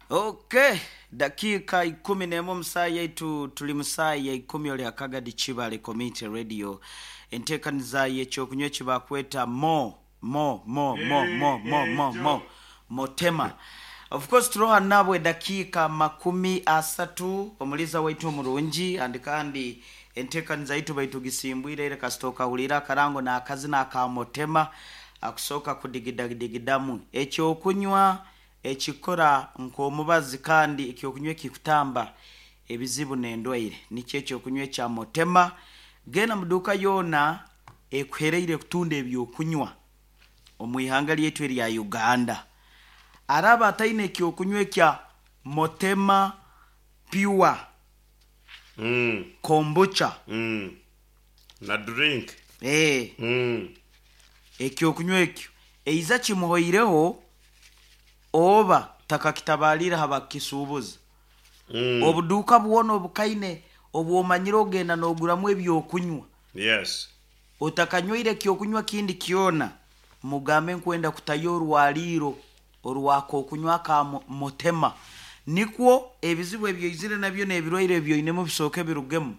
Ok, dakiika 11 omu saaha yaitu turi mu saaha ya ikumi ori Akagadi Kibale Community Radio. Enteekaniza y'ekyokunywa eki baakweta Mo Mo Mo Mo Mo Mo Mo Mo Motema. Of course turiho hanu nahabwa edakiika 30 omuliiza waitu omurungi and kandi enteekaniza yaitu baitugisimbwire ira kasita okahuriire akarango n'akazina aka Motema akusooka kudigidagidigidamu ekyokunywa Ekikora nk'omubazi kandi eky'okunywa ekikutamba ebizibu n'endwaire nikyo eky'okunywa ekya Motema. Genda mu duuka yoona ekuhereire kutunda eby'okunywa omu ihanga lyaitu erya Uganda. Araba ataine eky'okunywa ekya Motema Pure Kombucha. Na drink. Ee. Eky'okunywa ekyo eiza kimuhoireho oba takakitabaaliire aha bakukisuubuza. Obuduuka bwona obukaine obu omanyire ogenda nooguramu eby'okunywa. Yes. Otakanywaire eky'okunywa kindi kyona, mugambe nkwenda kutayo orwariiro orw'ak'okunywa aka Motema. Nikwo ebizibu ebi oizire nabyo n'ebirwaire ebi oinemu bisooke birugemu,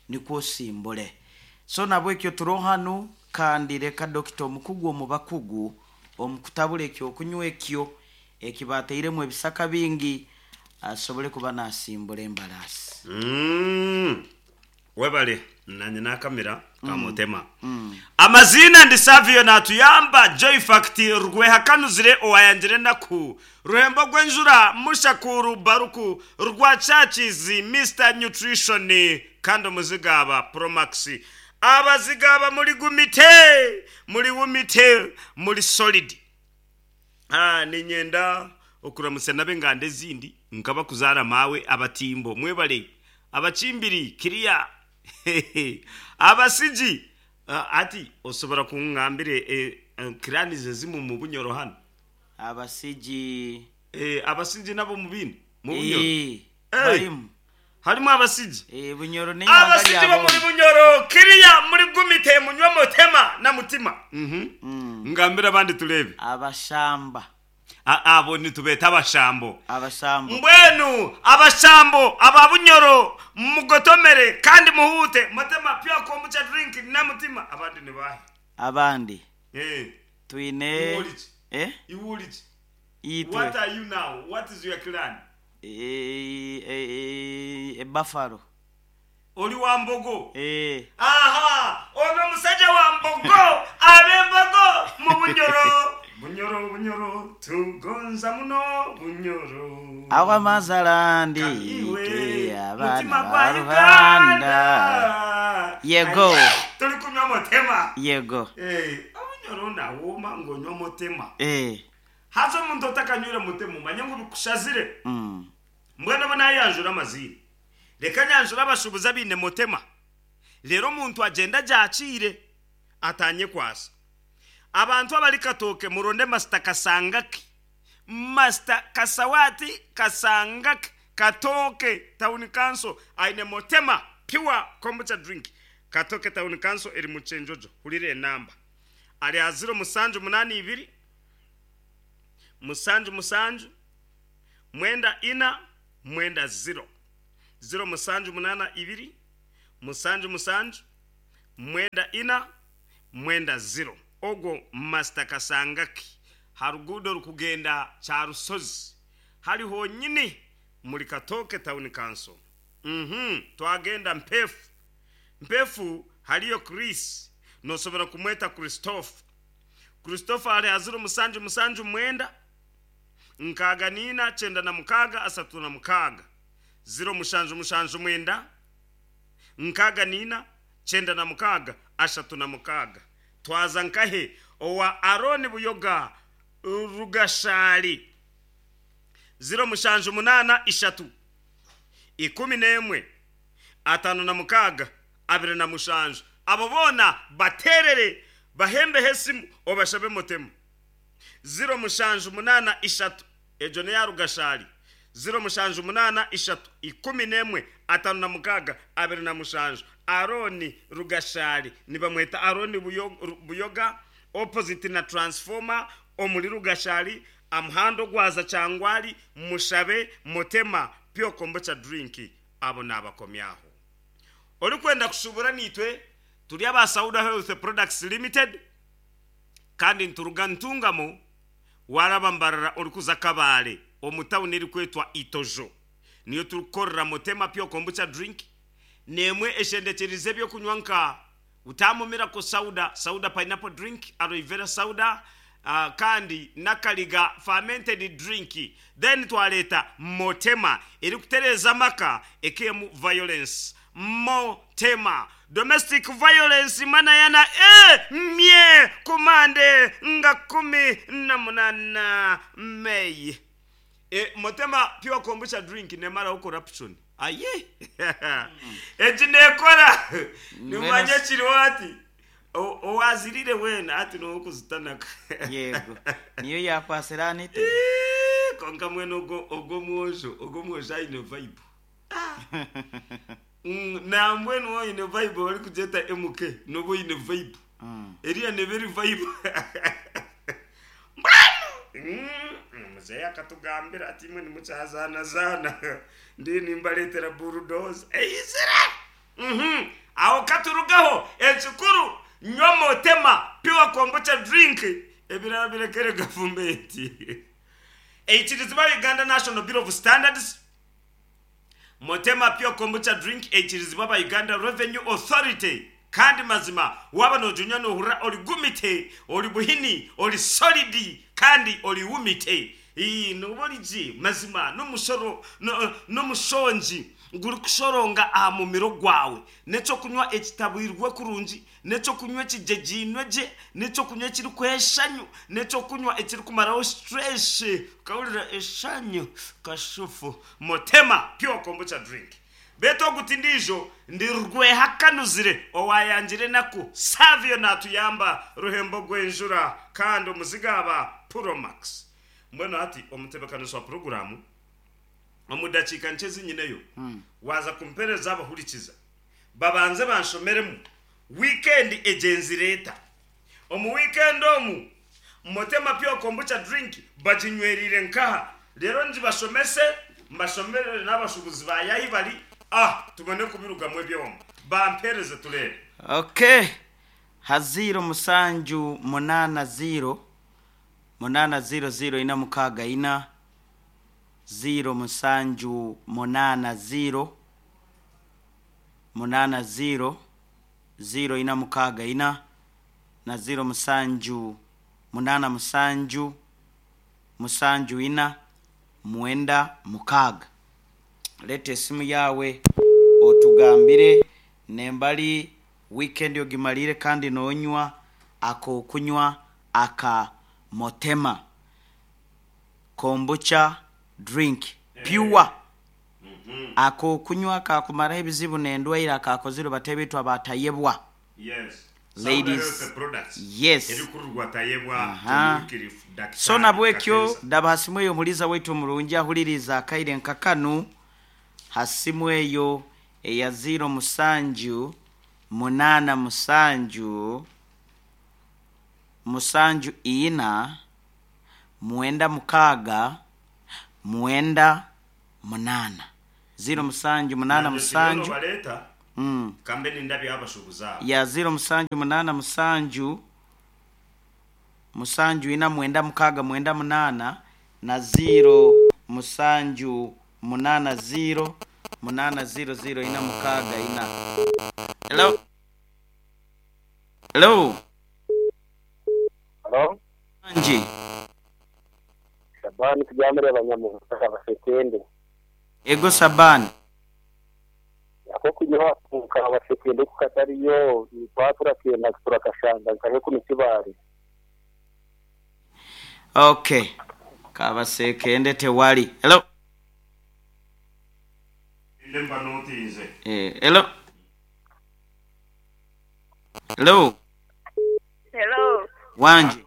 nikwo osimbure. So nabwekyo turoho hanu kandi reka Dokita omukugu omu bakugu omu kutabura eky'okunywa ekyo eki baatairemu ebisaka bingi asobole kuba naasimbura embaraasi. Webale nanye nakamira kamutema. Amaziina ndi Savio natuyamba Joyfact Rwehakanuzire owayangire enaku Ruhembo gwenjura Mushakuru Baruku Rwachachizi Mister Nutrition kandi omuzigaaba Promax Abazigaaba muri gumite muri wumite muri solid Niinyenda okuramutsya n'ab'enganda ezindi nk'abakuzaara maawe Abatimbo, mwebare, Abakimbiri, Kiriya, Abasigi. Hati osobora kungambira clans ezimwe omu Bunyoro hanu? Abasigi. Abasigi nabo mubaine mu Bunyoro? Ee, barimu. Harimu Abasigi. Ee, Bunyoro n'eihanga Abasigi rya b'omuri boona. Bunyoro, Kiriya, muri Gumite, munywe Mutema na Mutima. Ngambira abandi tureebe. Abashamba. Abo nitubeeta Abashambo. Abashambo. Mbwenu Abashambo aba Bunyoro mugotomere kandi muhuute Mutema pure kombucha drink na Mutima. Abandi ni baahi? Abandi Eh. twine. Iwe ori ki? Eh? Iwe ori ki? Itwe. What are you now? What is your clan? E Buffalo. Oli wa Mbogo? Eeh. Aha! Ono musaja wa Mbogo! Ab'Embogo mu Bunyoro! Bunyoro, Bunyoro, tugonza muno Bunyoro. Agho amazala ndi Iwe, itwe abaana mutima ba gwa Rubanda. Uganda! Yego. Aye, toli kunywa mutema. Yego. Eh, Obunyoro nawooma ng'onywa mutema. Eeh. Haza omuntu otakanywire mutema omanye ngu bikushazire. Mbwenu obu naayanjura amaziina, reka nyanjure abashuubuzi abaine mutema, reero omuntu agyende agyakiire ataanyekwasa. Abantu abari Katooke muronde Masita Kasangaki, Masita Kasawati Kasangaki, Katooke Town Council aine mutema pure kombucha drink. Katooke Town Council eri Mukyenjojo. Hurira enamba ari aha ziro mushanju munaana ibiri. Mushanju mushanju, mwenda ina, mwenda ziro. Ziro mushanju munaana ibiri, mushanju mushanju, mwenda ina, mwenda ziro. Ogwo Master Kasangaki ha ruguudo orukugenda Kyarusozi hari honyini muri Katooke Town Council. Uhmm twagenda Mpefu. Mpefu hariyo Chris, nosobora kumweta Christophe. Christopher ari aziro musanju musanju mwenda, nkaaga na ina kyenda na mukaaga asatu na mukaaga. Ziro mushanju mushanju mwenda, nkaaga na ina 96 36. Twaza nkahe owa Arooni Buyoga Rugashaari. Ziro mushanju munaana ishatu, 11 56 27. Abo boona bateerere, bahembeho esimu obashabe mutemu. Ziro mushanju munaana ishatu, egyo n'eya Rugashaari, ziro mushanju munaana ishatu, 11 56 27. Arooni Rugashaari, nibamweta Arooni Buyoga, opposite na transformer omuri Rugashaari. Amuhanda ogwaza Kyangwali, mushabe Motema Pure Kombucha Drink abo naabakomyaho. Orikwenda kushuubura naitwe, turi aba Sauda Health Products Limited kandi nituruga Ntungamo waaraba Mbarara orikuza Kabale omu tawuni erikwetwa Itojo. Niyo turikukorera Motema Pure Kombucha Drink n'emwe eshendekyerize eby'okunywa nka Utamu Miracle Sauda, Sauda Pineapple Drink, Aloe Vera Sauda kandi n'akariga Fermented Drink. Then twareeta Motema erikutereeza amaka ekemu violence. Motema Domestic violence manayana e mye ku Mande nga 18 May. E Motema Pure Kombucha Drink nemaraho corruption. Aye egi nekora nimanya ekiriho hati owazirire weena hati nowokuzitanaka. Yego niyo yakwasire Anita. Kwonka mbwenu ogwo ogwo omwojo ogwo omwojo aine vibe nambwenu waaba oine vibe barikugyeta MK noba oine vibe eriya neeba eri vibe. Mbwenu omuzeeyi akatugambira ati imwe nimukyazaanazaana ndiyo nimbareetera bulldozer eizire. Aho katurugaho ekikuru nywa Motema Pure Kombucha Drink ebirala birekere gavumenti. Eikirizibwa Uganda National Bureau of Standards. Motema Pure Kombucha Drink eikirizibwa aba Uganda Revenue Authority kandi mazima waaba noginywa nohurira ori gumite, ori buhini, ori solid kandi ori wumite. Ii nooba ori gye mazima n'omushoro n'omushongi gurikushoronga aha mumiro gwawe. N'eky'okunywa ekitabwirwe kurungi N'eky'okunywa ekigyegyeine gye, n'eky'okunywa ekirikuha eshanyu, n'eky'okunywa ekirikumaraho stress, okahurira eshanyu kashufu. Motema Pure Kombucha Drink. Beitu ogu ti ndiijo, ndi Rwehakanuzire owaayangire enaku, Savio naatuyamba, Ruhembo Gwenjura kandi omuzigaaba Puromax. Mbwenu hati omutebeekanisa wa puroguraamu, omu dakiika nkye ezi nyineyo, waaza kumpeereza abahurikiza. Babanze banshomeremu wiikendi egyenzire eta. Omu wiikendi omu, Motema Pure Kombucha Drink baginywereire nkaha? Reero ngibashomese, mbashomerere n'abashuubuzi baayo ahi bari, ah tubone kubirugamu ebyoma. Bampeereze tureebe. Ok, ha ziiro musanju munaana ziiro, munaana ziiro ziiro ina mukaaga ina, ziiro musanju munaana ziiro, munaana ziiro, ziiro ina mukaaga ina, na ziiro musanju munaana musanju, musanju ina, mwenda mukaaga. Leeta esimu yaawe otugambire nembari wiikendi ogimariire kandi noonywa ak'okunywa aka Motema Kombucha Drink Pure. Ak'okunywa kaakumaraho ebizibu n'endwaire akaakozirwe bataahi baitu aba Tayebwa. Ladies Yes. Aha. So nabwekyo daba ha simu eyo omuliiza waitu omurungi ahuliriize akaire nka kanu ha simu eyo eya ziiro musanju munaana musanju musanju ina mwenda mukaaga mwenda munaana. Ziiro musanju munaana musanju. Ya ziiro musanju munaana musanju musanju ina mwenda mukaaga mwenda munaana na ziiro musanju munaana ziiro munaana ziiro ziiro ina mukaaga ina. Hello? Hello? Hello? Wangi. Shabani Tugyamire Banyamuhanga Kabasekende. Ego Shabani. Ak'okunywa omu Kabasekende ku katariyo twaba turakenda turakashanga nkahe kunu Kibaale. Ok. Kabasekende tewali. Hello? Eh, hello? Hello? Hello. Wangi.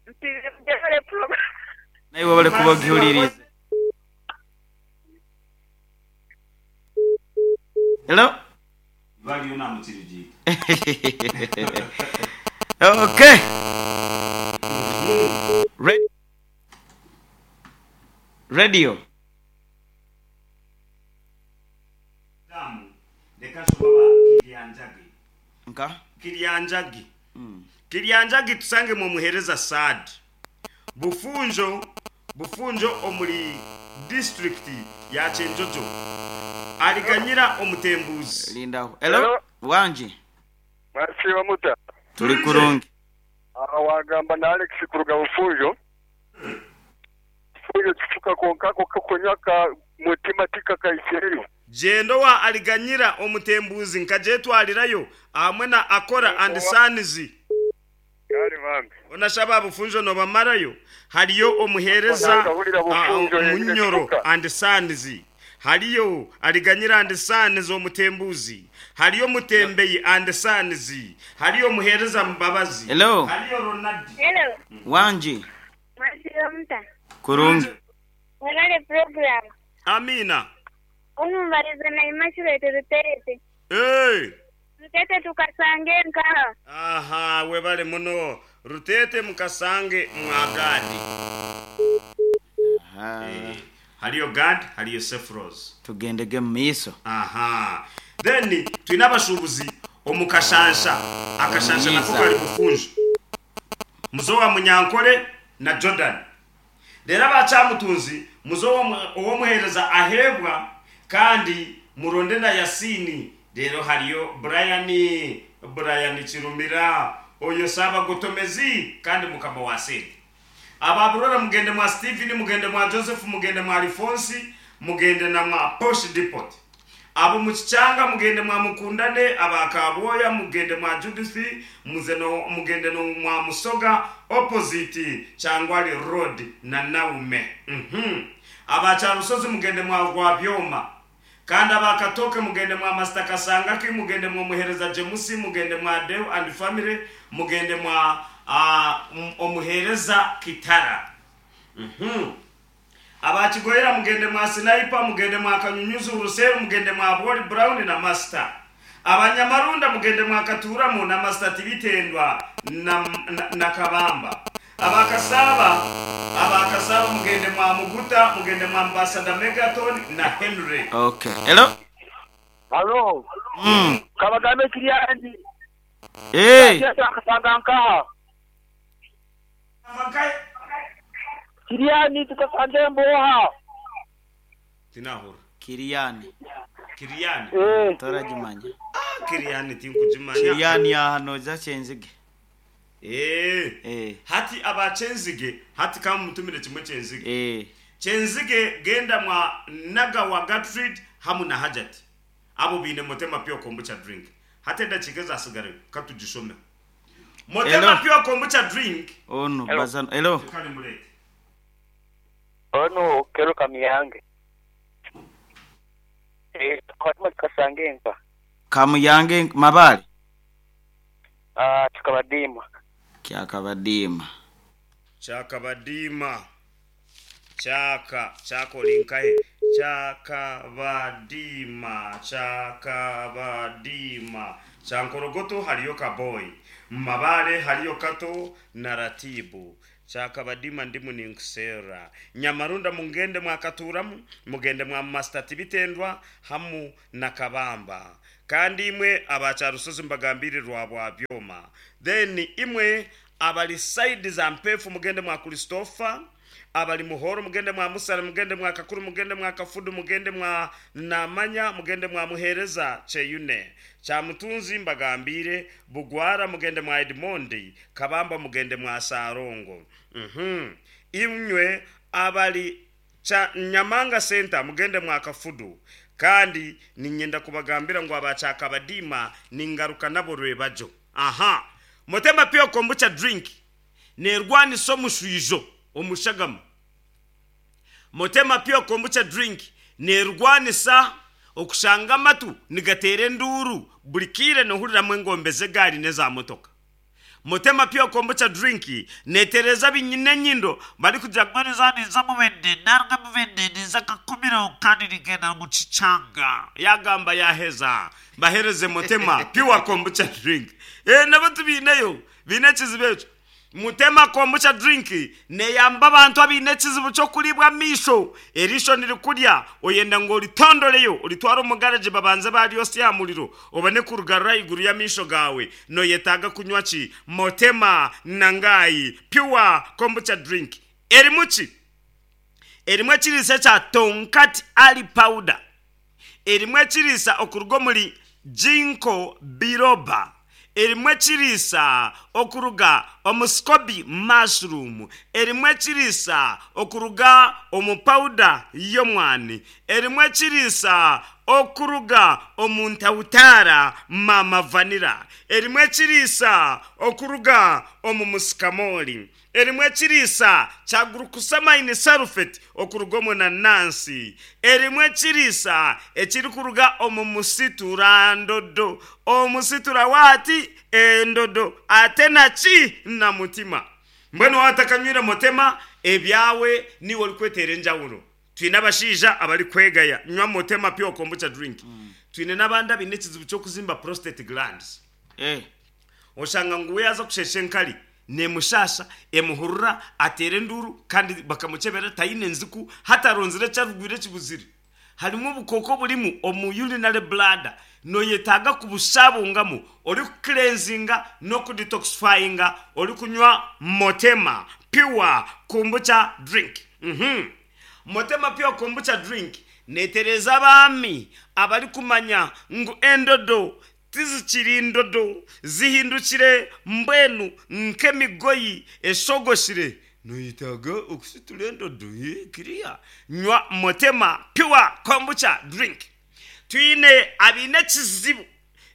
Mpulire mujebale program. Naiwe webale kuba ogihuliriize. Hello? Okay. Ready? Radio. Reka nshome aba Kiryanjagi. Nka? Kiryanjagi. Kiryanjagi tusangemu omuheereza Saad. Bufunjo, Bufunjo omuri disiturikiti ya Kyenjojo. Ariganyira omutembuuzi. Lindaho. Hello? Wangi. Mwasiiba muta? Turi kurungi. Aha wagamba na Alex kuruga Bufunjo. Bufunjo kifuka kwonka ako kokunywa ka mutima tikakaikireyo. Gyenda owa Ariganyira omutembuuzi nkagyetwarirayo ahamwe na Akora and Sons. Kare bambi. Onashaba aba Bufunjo nobamarayo, hariyo omuheereza Nakahurira Bufunjo yengire Munyoro kifuka. and Sons, hariyo Ariganyira and Sons omutembuuzi, hariyo Mutembeyi and Sons, hariyo omuheereza Mbabazi, Hello. hariyo Ronald. Hello. Wangi. Mwasiiba muta? Kurungi. Mwebale program. Amiina. Omubarize na Immaculate Rutete. Hey! Rutete tukasange nkaha. Aha, webale muno. Rutete mukasange mwa Gadi. Aha. Hariyo Gad, hariyo Sefros. Tugendege mu maiso. Aha. Then twine abashuubuzi omu Kashansha. Akashansha nako Omuyiiza. kari Bufunjo. Muze owa Munyankore na Jordan. Reero aba Kyamutunzi muze ow'omuheereza Aheebwa kandi muronde na Yasiini. Reero hariyo Brian, Brian Kirumira, oyo Ssaabagotomezi kandi mukama wa sente. Aba Burora mugende mwa Stephen, mugende mwa Joseph, mugende mwa Alphonse, mugende na mwa Posh Depot. Abo mu Kikyanga mugende mwa Mukundane, aba Kabwoya mugende mwa Judith, muze no, mugende no mwa Musoga opposite Kyangwali Road na Naume. Aba Kyarusozi mugende mwa Rwabyoma. Kandi aba Katoke mugende mwa Master Kasangaki, mugende mwa Muhereza Jemusi, mugende mwa Deo and Family, mugende mwa Omuhereza Kitara. Aba Kigoyera mugende mwa Sniper, mugende mwa Kanyunyuzi Uruseru, mugende mwa Boli Brown na Master. Abanyamarunda mugende mwa Katuramu na Master Tibitendwa na Kabamba. Aba Kasaba mugende mwa Muguta, mugende mwa Ambassador Megaton na Henry. Okay. Hello? Halo. Kabagambe Kiryangi. Hey. Tukasanga nkaha. Kiriyani tukasanga emboha. Tinahura. Kiriyani. Kiriyani. Toragimanya. Kiriyani tinkugimanya. Kiriyani aha noza Kyenzige. Hati aba Kyenzige, hati kamutumire kimwe Kyenzige. Kyenzige genda mwa Nagawa Gertrude hamu na Hajat. Abo biine Motema Pure Kombucha drink. Hati edakiika ezasigara katugishome. Motema Hello. Pure Kombucha drink. Onu Hello. bazano. Hello. Kale murete. Ono kero Kamiyange. Tukaba tukasanga enka. Kamuyange Mabale. Tukabadiima. Kyakabadiima. Kyakabadiima. Kyaka, kyaka ori nkahe? Kyakabadiima, kyakabadiima. Kyankorogoto hariyo Kaboy. Mabale hariyo Kato na Ratibu. Kyakabadiima ndimu ninkuseera. Nyamarunda mugende mwakaturamu, mugende mwa Master Tibitendwa hamu na Kabamba. Kandi imwe abakyarusozi mbagambire rwa Byoma. Then imwe abali side za Mpefu mugende mwa Christopher, abali Muhoro mugende mwa Musara, mugende mwa Kakuru, mugende mwa Kafudu, mugende mwa Namanya, mugende mwa Muhereza Cheyune. Kyamutunzi mbagambire Bugwara mugende mwa Edmondi, Kabamba mugende mwa Sarongo. Imwe abali cha Nyamanga Center mugende mwa Kafudu. Kandi ninyenda kubagambira ngu abakyakabadiima ningaruka nabo rwebajo. Aha. Motema Pure Kombucha drink nerwanisa omushwijo omushagama. Motema Pure Kombucha drink nerwanisa okushanga amatu nigateera enduuru buri kiire nohuriramu engombe z'egaari n'eza motoka. Motema Pure Kombucha drink netereeza binyine enyindo barikugira ngu Niza mubende naruga mubende niza kakumiro kandi nigenda mu kichanga. Yagamba yaheza bahereze Motema Pure Kombucha drink. Nabo tubiineyo biine ekizibu ekyo. Mutema Kombucha Drink neeyamba abantu abaine ekizibu ky'okuriibwa amaisho. Eriisho nirikurya, oyenda ngu oritondoreyo oritware omu garagi babanze baryosya aha muriro obone kurigarura ahaiguru y'amaisho gaawe. Nooyetaaga kunywa ki? Motema Nangai Pure Kombucha Drink erimu ki? Erimu ekiriisa ekya Tongkat Ali Powder. Erimu ekiriisa okuruga omuri Ginkgo biloba. Erimu ekiriisa okuruga omu SCOBY mushroom. Erimu ekiriisa okuruga omu pawuda y'omwani. Erimu ekiriisa okuruga omu ntawutaara mama vanilla. Erimu ekiriisa okuruga omu musikamooli. Erimu ekiriisa kya glucosamine sulfate okuruga omu nanansi. Erimu ekiriisa ekirikuruga omu musiturandodo. Omusitura waati endodo ate na ki? Na mutima. Mbwenu waaba otakanywire mutema, ebyawe niiwe orikweteera enjawulo. Twine abashaija abarikwegaya nywa mutema pure kombucha drink. Twine n'abandi abaine ekizibu ky'okuzimba prostate glands. Oshanga ngu we yaaza kusheesha enkari neemushaasha, emuhurura, ateera enduuru kandi bakamukyebera taine nziku, hati aronzire eki arugwire ekibuzire. Harimu obukooko oburimu omu urinary bladder, nooyetaaga kubushabungamu orikucleansinga n'okudetoxifyinga orikunywa Motema Pure Kombucha Drink. Motema Pure Kombucha Drink neetereeza abaami abarikumanya ngu endodo Tizikiri ndodo, zihindukire mbwenu nk'emigoyi eshogoshire. Noyetaaga okusitura endodo kiriya. Nywa Motema Pure Kombucha Drink. Twine abaine ekizibu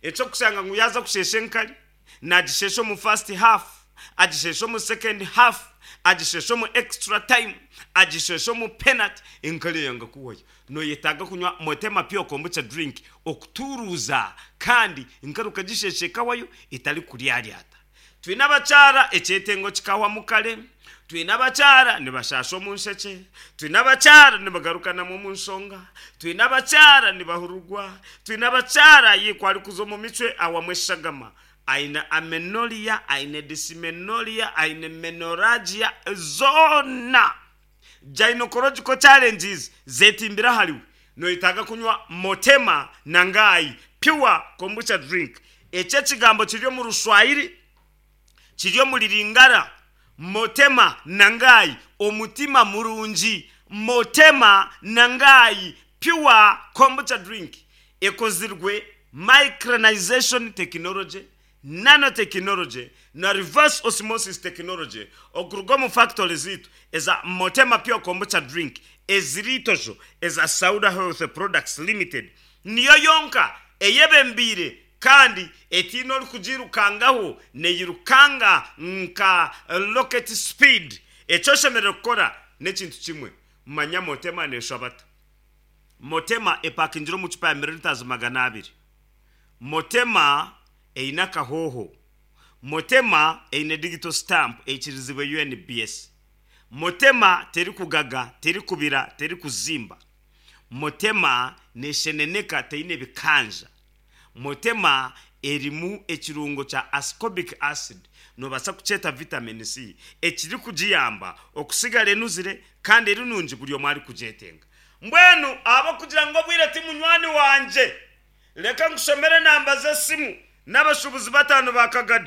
eky'okushanga ngu yaaza kusheesha enkari, naagishesha omu first half, agishesha omu second half, agishesha omu extra time, agishesha omu penalty, enkari eyanga kuhwayo. Noyetaaga kunywa Motema Pure Kombucha Drink okutuuruuza kandi enkari okagishesha ekahwayo etarikuryaryata. Twine abakyara ekyetengo kikahwamu kare, twine abakyara nibashaasha omu nshekye, twine abakyara nibagarukanamu omu nshonga, twine abakyara nibahururwa, twine abakyara ayi ku arikuza omu micwe ahwamu eshagama, aine amenorrhea, aine dysmenorrhea, aine menorrhagia, zoona Gynecological challenges zetimbire ahariwe, noyetaaga kunywa Motema na Ngai Pure Kombucha Drink. Eki ekigambo kiri omu Ruswahili, kiri omuri Lingala, Motema na Ngai, omutima murungi. Motema na Ngai Pure Kombucha Drink ekozirwe micronization technology Nanotechnology na Reverse Osmosis Technology okuruga omu fakitori zaitu eza Motema Pure Kombucha Drink eziri Itojo eza Sauda Health Products Limited niyo yonka eyebembeire kandi etaine orikugiirukangaho neyirukanga nka rocket speed. Eki oshemereire kukora n'ekintu kimwe, manya Motema neshwabata. Motema epakingire omu cupa ya millilitres 200. Motema eine akahooho. Motema eine digital stamp eikirizibwe UNBS. Motema terikugaga, terikubira, terikuzimba. Motema nesheneneka teine bikanja. Motema erimu ekirungo kya ascorbic acid, nobaasa kukyeta vitamin C, ekirikugiyamba okusigara enuzire kandi eri nungi buri omwe arikugyetenga. Mbwenu ahabw'okugira ngu obwire ti munywani wangye, Leka nkushomere enamba z'esimu n'abashuubuzi bataano ba Kagadi.